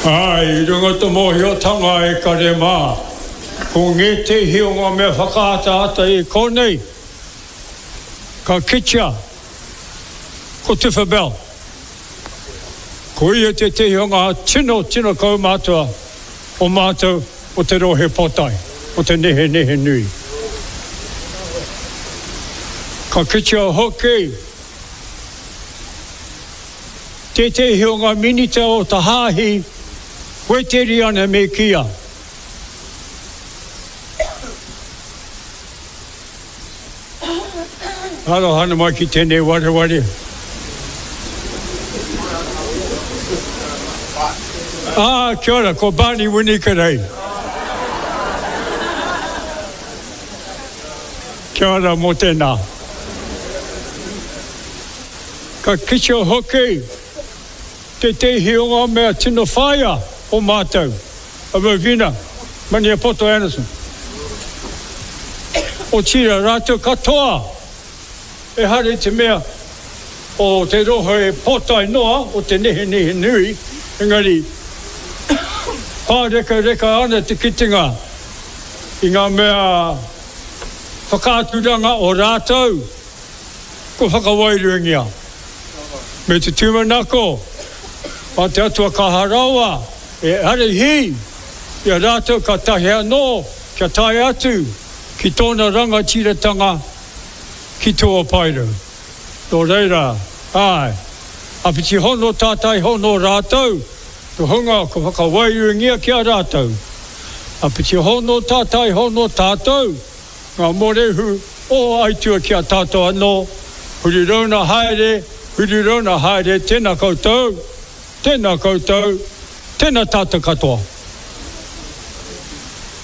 Āe, i runga te mōhiotanga e kare mā, ko ngētehi o ngā mea whakaataata i konei, ka kitea ko Tifa Bell. Ko ia tētehi o ngā tino, tino kaumātua o mātou o te rohe pōtae, o te Nehenehenui. Ka kitea hoki tētehi o ngā minita o te hāhi Wēteriana me kīia. Aroha ana mai ki tēnei wareware. Ā, kia ora, ko Barney Winikerei. Kia ora mō tēnā. Ka kitea hoki tētehi o ngā mea tino whāia o mātou, a Rowena Maniapoto Anderson. Otirā, rātou katoa, ehara i te mea o te rohe pōtae noa o te nehenehe nui, engari pārekareka ana te kitenga i ngā mea whakaaturanga o rātou kua whakawairuangia. Me te tūmanako mā te Atua Kaha Rawa e ārahi i a rātou kātahi anō kia tae atu ki tōna rangatiratanga ki tua paerau. Nō reira, āe, āpiti hono tātai hono rātou, te hunga kua whakawairuangia ki a rātou. Āpiti hono tātai hono tātou, ngā mōrehu o Aitua ki a tātou anō, huri rauna haere, huri rauna haere, tēnā koutou, tēnā koutou, tēnā tātou katoa.